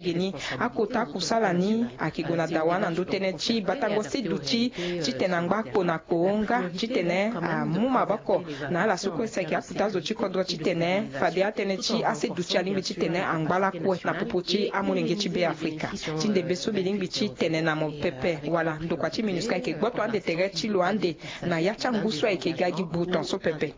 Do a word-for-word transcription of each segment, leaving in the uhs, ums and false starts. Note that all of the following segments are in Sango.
Geni akota kusala ni ayeke gue na dawa na ndö tënë ti batango seduti titene angba kpo na kpo nga titene amu maboko na ala so kue si ayeke akota zo ti kodro titene fade atënë ti aseduti alingbi titene angba lakue na popo ti amolenge ti Be Afrika. Ti ndembe so mbi lingbi ti tene na mo pepe wala ndokua ti MINUSCA ayeke gboto ande tere ti lo ande na ya ti angu so ayeke ga gi gbuton so pepe.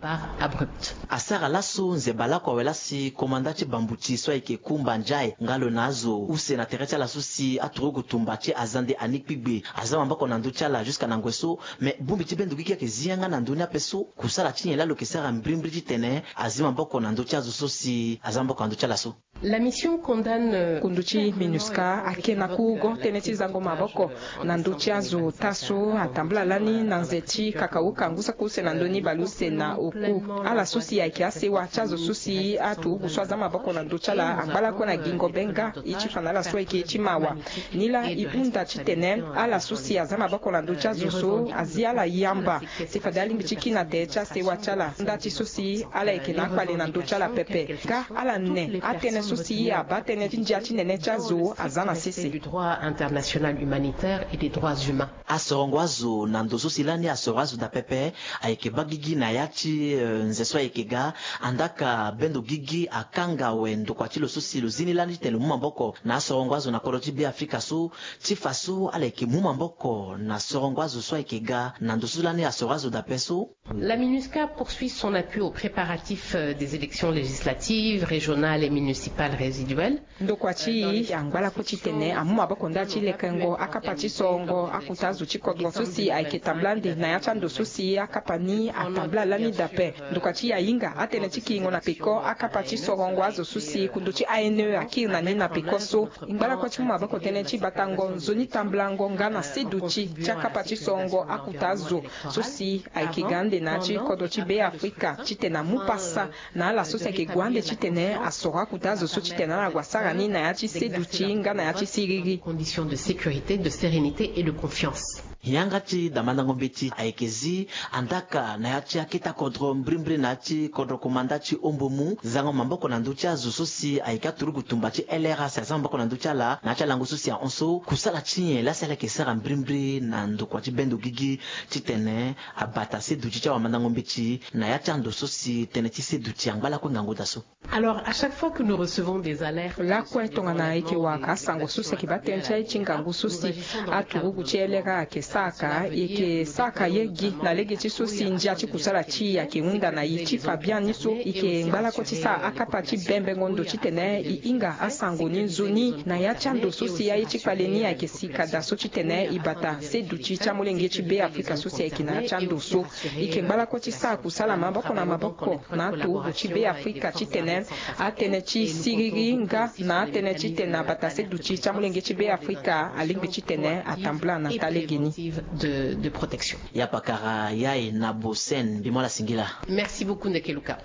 Asara laso nzeba lakue awe lasi komanda ti bambuti so ayeke Kumba Ndiaye nga lo na azo use na tere ti ala so si aturugu tumba ti Azande Annie Kpigbe aza maboko na ndö ti ala jusqu'à na ngoi so. Me bongbi ti bendo gigi ayeke zi yanga na ndö ni ape so kusala ti nyen laa lo yeke sara mbrimbri titene azi maboko na ndö ti azo so si aza maboko na ndö ti ala so. La mission condamne, euh, kundu ti MINUSCA ake na kurugo tënë ti zango maboko na ndö ti azo ota so atambula lani na nze ti kakauka ngu saki use na ndö ni baleuse na oku. Ala so si ayeke asewa ti azo so si aturugu so aza maboko na ndö ti ala angba lakue na gingo be nga e ti fa na ala so ayeke e ti mawa. Nilaa e hunda titene ala so si aza maboko na ndö ti azo so azi ala yamba si fade alingbi ti kiri na tere ti asewa ti ala nda ti so si ala yeke na akpale na ndö ti ala pepe. Nga ala ne atënë so si abaa tënë ti ndia ti nene ti azo aza na sese. Du droit international humanitaire et des droits humains. Asorongo azo na ndo so si lani asoro azo daa pepe ayeke baa gigi na ya ti, eh, nze so ayeke ga. Andaka bendo gigi akanga awe ndokua ti lo so si lo zi ni lani titene lo mu maboko na asorongo azo na kodro ti Be Afrika so ti fa so ala yeke mu maboko na sorongo azo so ayeke ga na ndo so lani asoro azo daa pe so. La MINUSCA poursuit son appui aux préparatifs, euh, des élections législatives, régionales et municipales résiduelles. Ndokua ti e angba lakue titene amu maboko nda ti lekengo akapa ti sorongo akuta azo ti kodro so si ayeke tambula ande na ya ti ando so si akapa ni atambula lani daa pe. Ndokua ti e ahinga atënë ti kiringo na peko akapa ti sorongo azo so si kundu ti A N E akiri na ni na peko so. E ngba lakue ti mu maboko tënë ti batango nzoni tambulango nga na seduti ti akapa ti sorongo akuta azo so si ayeke ga ande na ya ti kodro ti Be Afrika titene amu pasa na ala so si ayeke gue ande titene asoro akuta azo so titene ala gue asara ni na ya ti seduti nga na ya ti siriri. Conditions de sécurité, de sérénité et de confiance. Yanga ti damandango mbeti ayeke zi andaka na ya ti aketa kodro mbrimbri na ya ti kodro komanda ti Ombomu zango maboko na ndö ti azo so si ayeke aturugu tumba ti L R A si aza maboko na ndö ti ala na ya ti alango so si ahon so kusala ti nyen laa si ala yeke sara mbrimbri na ndokua ti bendo gigi titene abata seduti ti awamandango mbeti na ya ti ando so si tënë ti seduti angba lakue ngangu daa so. Alors, à chaque fois que nous recevons des alertes, lakue tongana e yeke wara asango so si ayeke baa tënë ti aye ti ngangu so si aturugu ti L R A ayeke saka, e yeke saka ye gi na lege ti so si ndia ti kusala ti e ayeke hunda na e ti fa biani so e yeke ngba lakue ti sara akapa ti bembengo ndo titene e hinga asango ni nzoni na ya ti ando so si aye ti kpale ni ayeke sika daa so titene e bata seduti ti amolenge ti Be Afrika so si ayeke na ya ti ando so. E yeke ngba lakue ti sara kusala maboko na maboko na aturugu ti Be Afrika titene atënë ti siriri nga na atënë titene abata seduti ti amolenge ti Be Afrika alingbi titene atambula na taa lege ni. De, de protection. Ya pakara ya e na Bosen mbi mu ala singila. Merci beaucoup, Ndeke Luka.